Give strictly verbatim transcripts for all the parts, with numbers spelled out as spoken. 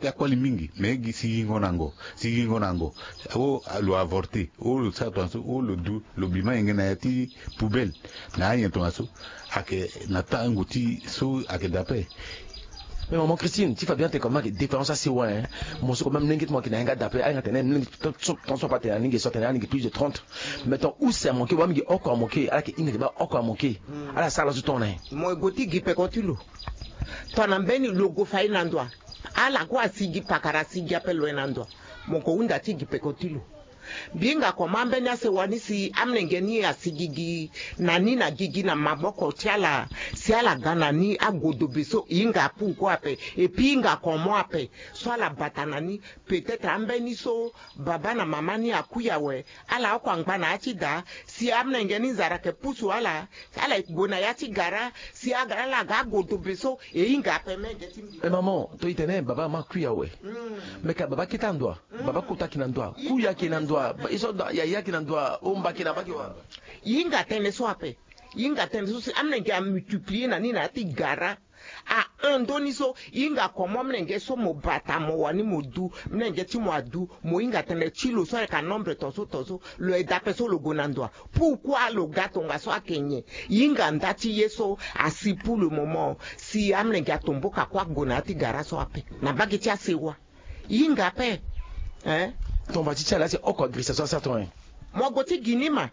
Akoli mingi, mais gi sigingo na ngo, sigingo na ngo. O lo avorte, o lo sara tongaso, o lo du, lo bi ma yenge na ya ti poubelle. Na anyen tongaso ayeke na tango ti so ayeke daa ape. Mais maman Christine, ti fa bien te comme ayeke déférence asewa, hein. Mo so quand même, mlenge ti mo ayeke na yanga daa ape, ayeke na tene mlenge ti so, tongaso ape atene alingbi so atene alingbi plus de trente. Mais ton use amoke, wa mingi oko amoke, ala yeke hinga ti baa oko amoke. Ala sara laso ton na ye. Mo gue ti gi peko ti lo. Tongana mbeni lo gue fai na ndo wa, ala kue asigi pakara, asigi ape lo ye na ndo wa. Mo gue hunda ti gi peko ti lo. Mbi hinga comment ambeni asewa ni si amlenge ni asigi gi na ni na gigi na maboko ti ala, si ala ga na ni agodobe so, e hinga pourquoi ape? Et puis e hinga comment ape so ala bata na ni? Peut-être ambeni so baba na mama ni akui awe, ala oko angba na ya ti da, si amlenge ni nzara ayeke pusu ala, ala gue na ya ti gara, si aga, ala ga agodobe so, e hinga ape menge ti mbi. Eh, maman, to e tene baba na mama akui awe. Mm. Mais ka baba kete na ndo wa, baba kota ayeke na ndo wa, kui ayeke na ndo wa, ba, e so da, yaya ayeke na ndo wa, omba ayeke na bake wa. E hinga tënë so ape. E hinga tënë so si amlenge amultiplier na ni na ya ti gara. A un ndoni so, e hinga comment mlenge so mo bata mo wani mo du, mlenge ti mo adu, mo hinga tënë ti lo so ayeke anombre tongaso tongaso, lo aye daa ape so lo gue na ndo wa. Pourquoi lo ga tongaso ayeke nyen? E hinga nda ti ye so asi pour le moment, si amlenge atomboka kue ague na ya ti gara so ape. Na mbage ti asewa. E hinga ape. Hein? Ton va ti ti ala si oko agirisa so asara ton, hein. Mo gue ti gi ni ma.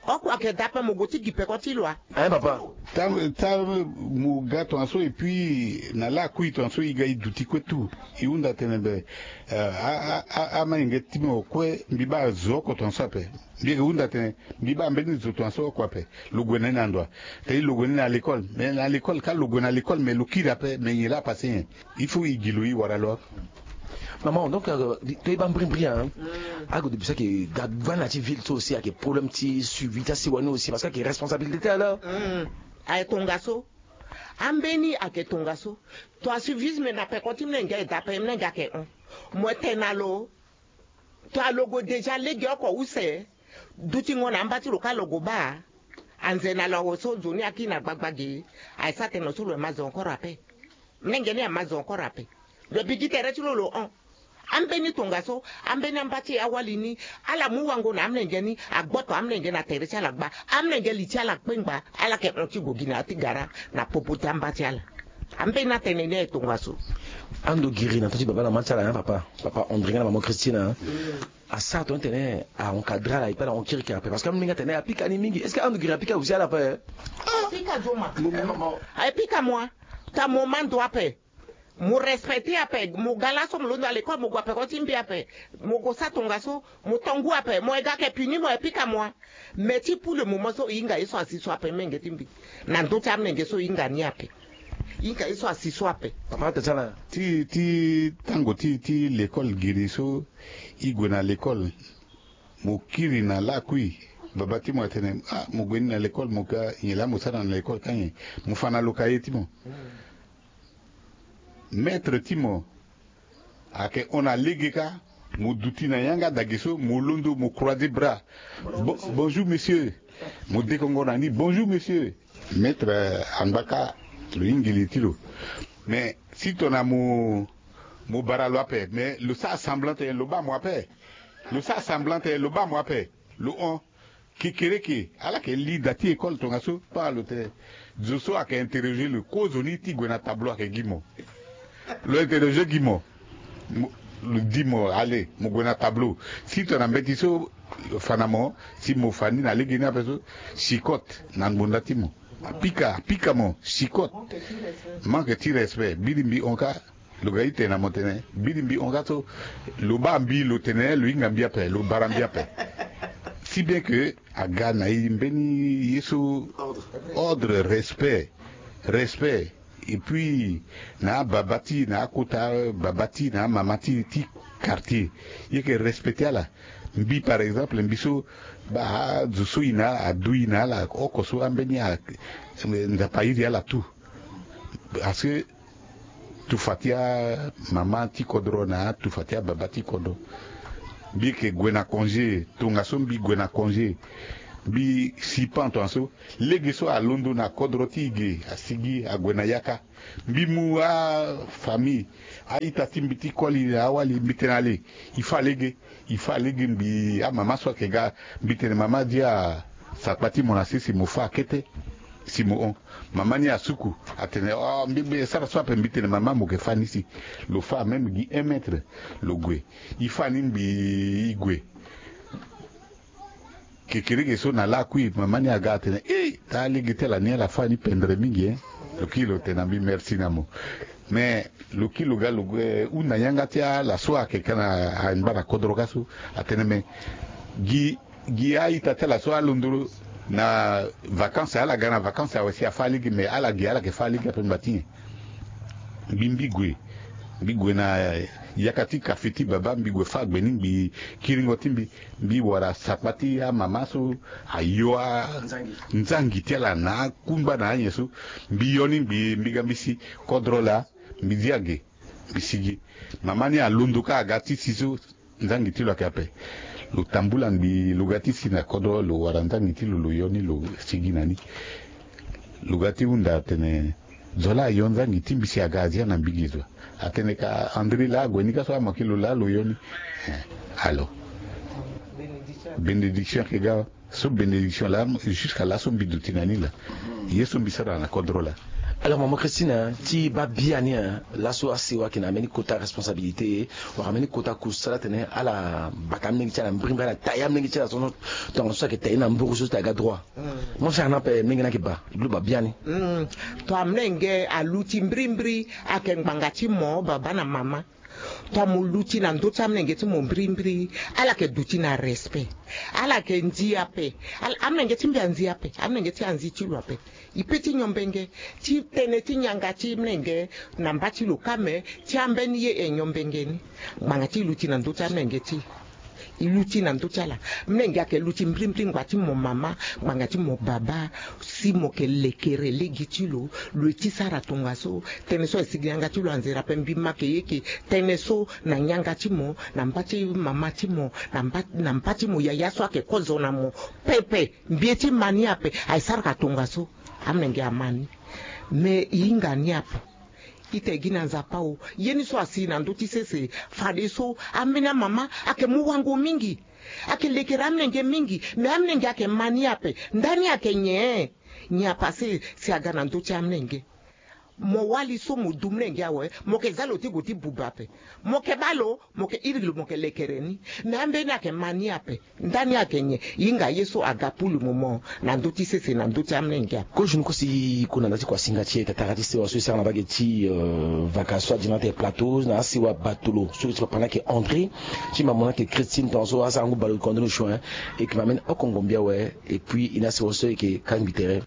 Oko ayeke daa ape, mo gue ti gi peko ti lo wa. Hein, papa? Tango, tango mo ga tongaso, et puis na lakui tongaso e ga e duti kue tout. E hunda tene be, euh, a, a, a, amayenge ti mo kue, mbi baa azo oko tongaso ape. Mbi yeke hunda tene, mbi baa mbeni zo tongaso oko ape. Lo gue na ni na ndo wa. Tene lo gue na ni na l'école. Mais na l'école, ka lo gue na l'école, mais lo kiri ape, mais nyen laa apase nyen? Il faut e gi lo, e wara lo. Maman, donc, euh, to e baa mbirimbiri, hein. Mm. Ague de bisa ke ga, ga na ti ville so aussi ayeke problème ti suivi ti asewa ni aussi, parce que ayeke responsabilité ti ala. Mm. Ayeke tongaso. Ambeni ayeke tongaso. Tongana suivisme na peko ti mlenge aye daa ape, mlenge ayeke hon. Mo tene na lo. Tongana lo gue déjà lege oko use, dutingo na amba ti lo ka lo gue baa. Anze na lo awe so nzoni akiri na gbagba ge. Aye sa tene lo so lo ma zo encore ape. Mlenge ni ama zo encore ape. Lo bi gi tere ti lo lo hon. Ambeni tongaso, ambeni amba ti e awali ni, ala mu wango na amlenge ni, agboto amlenge na tere ti ala gba, amlenge li ti ala kpengba, ala yeke hon ti gue gi na ya ti gara na popo ti amba ti ala. Ambeni atënë ni aye tongaso. Ando giri na ndo ti baba na mama ti ala, hein, papa. Papa André nga na maman Christine, hein. Mm. Asara tongana tene a encadrer ala, e pe ala hon kirikiri ape. Parce que amolenge atene apika ni mingi. Est-ce que ando giri apika aussi ala ape? Apika zo ma. Mo, mo, mo. Apika mo. Ta mo ma ndo ape. Mo respecter ape. Mo ga laso mo londo na l'école, mo gue ape ko ti mbi ape. Mo gue sa tongaso, mo to ngu ape. Mo ye ga ayeke puni mo, e pika mo. Mais ti pour le moment so, e hinga ye so asi so ape, menge ti mbi. Na ndö ti amolenge so, e hinga ni ape. E hinga ye so asi so ape. Papa, ata ti ala. Ti, ti tango ti, ti l'école giri so, e gue na l'école. Mo kiri na lakui. Baba ti mo atene, ah, mo gue ni na l'école, mo ga nyen laa mo sara na l'école ka nyen? Mo fa na lo cahier ti mo. Maître ti mo ayeke hon na lege ka, mo duti na yanga dage so, mo londo, mo croiser bras. Bo-, bonjour monsieur. Mo dekongo na ni, bonjour monsieur. Maître, eh, angba ka, lo hingi li ti lo. Mais si tongana mo, mo bara lo ape, mais lo sara semblant tene lo baa mo ape. Lo sara semblant tene lo baa mo ape. Lo hon. Kekereke, ala yeke li da ti école tongaso, pa lo tene. Zo so ayeke interroger lo, kozoni ti gue na tableau ayeke gi mo. Lo interroger gi mo. Mo, lo di mo, allez, mo gue na tableau. Si tongana mbeti so, lo fa na mo, si mo fa ni na lege ni ape so, chicotte na ngbonda ti mo. Apika, apika mo, chicotte. Manque ti respect. Biri mbi hon ka, lo ga e tene na mo tene, biri mbi hon ka so, lo baa mbi, lo tene, lo hinga mbi ape, lo bara mbi ape. Si bien que aga na e mbeni ye so, ordre, respect, respect. Et puis, na ababa ti, na akota baba ti, na amama ti, ti quartier. E yeke respecter ala. Mbi, par exemple, mbi so, baa, azo so e na ala, adu e na ala, oko so ambeni a, Nzapa airi ala tout. Parce que tufa ti amama ti kodro na atufa ti ababa ti kodro. Mbi yeke gue na congé, tongaso mbi gue na congé. Mbi si pan tongaso, lege so alondo na kodro ti e ge, asigi ague na yaka. Mbi mu afamille, a-ita ti mbi ti koli na awali, mbi tene ale, e fa lege. E fa lege. Mbi amama so ayeke ga, mbi tene mama, dia sakpa ti mo na sese, mo fa akete. Si mo hon. Mama ni asuku, atene, oh, mbi be sara so ape. Mbi tene mama, mo yeke fa ni si. Lo fa même gi un mètre, lo gue. E fa ni, mbi e gue. Kekereke so na lakui, mama ni aga atene, eh, taa lege ti ala ni, ala fa ni pendre mingi, eh. Lo kiri lo tene na mbi, merci na mo. Mais lo kiri lo ga lo gue hunda yanga ti ala so ayeke ka na angba na kodro ka so. Atene, mais gi, gi a-ita ti ala so alondo na vacances, ala ga na vacances awe si afa lege, mais ala gi, ala yeke fa lege ape ngba ti nyen? Mbi, mbi gue. Mbi gue na yaka ti kafe ti baba, mbi gue fâ gbe ni, mbi kiringo ti mbi. Mbi wara sakpa ti amama so ayo a, nzangi ti ala na akungba na anyen so. Mbi yo ni, mbi, mbi ga mbi si kodro laa, mbi dia ge, mbi sigi. Mama ni alondo ka aga ti si so, nzangi ti lo ayeke ape. Lo tambula ngbii, lo ga ti si na kodro, lo wara nzangi ti lo, lo yo ni, lo sigi na ni. Lo ga ti hunda atene, zo laa ayo nzangi ti mbi si aga azia na mbi gi zo. Atene ka André laa ague ni ka so, ama ki lo laa lo yo ni. Eh, alors, bénédiction ayeke ga. So bénédiction laa, jusqu'à laso mbi duti na ni laa. Ye so mbi sara na kodro laa. Alors, maman Christine, ti baa biani, hein, laso asewa ayeke na ambeni kota responsabilité, wala ambeni kota kusala ti tene ala bata amolenge ti ala na mbirimbiri, ala taille amolenge ti ala so, tongaso ayeke taille na mburu so ti aga droit. Mo sara na ape, molenge ni ayeke baa, e glo baa biani. Hmm. To amolenge aluti mbirimbiri, ayeke ngbanga ti mo baba na mama. To mo luti na ndö ti amolenge ti mo mbirimbiri, ala yeke duti na respect. Ala yeke ndia ape. Ala, amolenge ti mbi andia ape. Amolenge ti anzi ti lo ape. E pe ti nyombenge, ti tënë ti nyanga ti mlenge na mba ti lo kame, ti ambeni ye e nyombenge ni. Ngbanga ti luti na ndö ti amlenge ti e. E luti na ndö ti ala. Mlenge ayeke luti mbirimbiri ngbanga ti mo mama, ngbanga ti mo baba, si mo yeke lekere lege ti lo, lo ye ti sara tongaso. Tënë so ayeke sigi na yanga ti lo anzere ape, mbi ma yeke ye yeke tënë so na yanga ti mo, na mba ti mama ti mo, na mba, na mba ti mo yaya so ayeke kozo na mo pepe. Mbi ye ti ma ni ape, ayeke sara ka tongaso. Amlenge ama ni. Me e hinga ni ape. Ita e gi na Nzapa o. Ye ni so asi na ndö ti sese, fadeso ambeni amama ayeke mu wango mingi. Ayeke lekere amlenge mingi. Me amlenge ayeke ma ni ape. Ndani ayeke nyen? Nyen apase si aga na ndö ti amlenge? Mo wali so mo du mlenge awe, mo yeke za lo ti gue ti buba ape. Mo yeke baa lo, mo yeke iri lo, mo yeke lekere ni. Me ambeni ayeke ma ni ape. Ndani ayeke nyen? E hinga ye so aga pour le moment na ndö ti sese, na ndö ti amlenge ape. Kozo ni kosi kue na nda ti kuasinga ti e, tatara ti sewa so e sara na mbage ti, euh, vaka so adi na ate plateau, na asewa batolo so ti papa ni ayeke André, ti mama ni ayeke Christine, tongaso asara ngu bale kondo ni sio, hein. E yeke ma mbeni oko ngombe awe, et puis e na asewa so e yeke kangbi tere.